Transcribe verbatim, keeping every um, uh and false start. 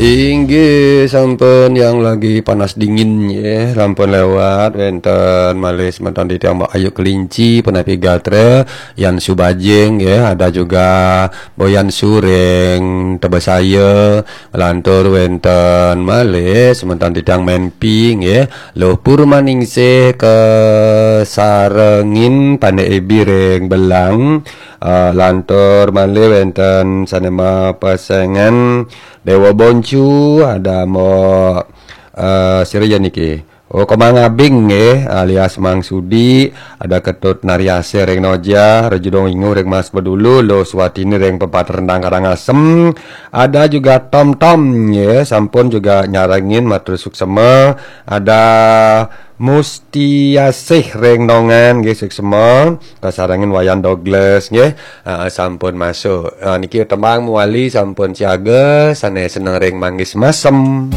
Inggih, sampun yang lagi panas dingin ya, sampun lewat. Wenten malih semeton titiang Mbak Ayu Kelinci, Penapi Gatra, Yan Subajing ya, ada juga Boyan Sureng, Tebesaya, lantur wenten malih semeton titiang Menpi ya, Luh Purmaningsih, kesarengin Pandai Ebi ring Belang, eh, lantur malih wenten sane mapesengan Dewa Boncu, ada Mbok, eh, sira ya niki. Oh, Komang Abing nggih, alias Mang Sudi, ada Ketut Nariase ring Noja, Rejudong Ingu ring Mas Bedulu, Lo Suwatini ring Pepat Rendang Karangasem, ada juga Tom Tom nggih, sampun juga nyarengin matur suksema, ada Mustiasih ring Nongan nggih suksema, kasarengin Wayan Douglas nggih, ah, sampun masuk. Ah, niki tembang mawali sampun siaga, sane seneng ring manggis masem.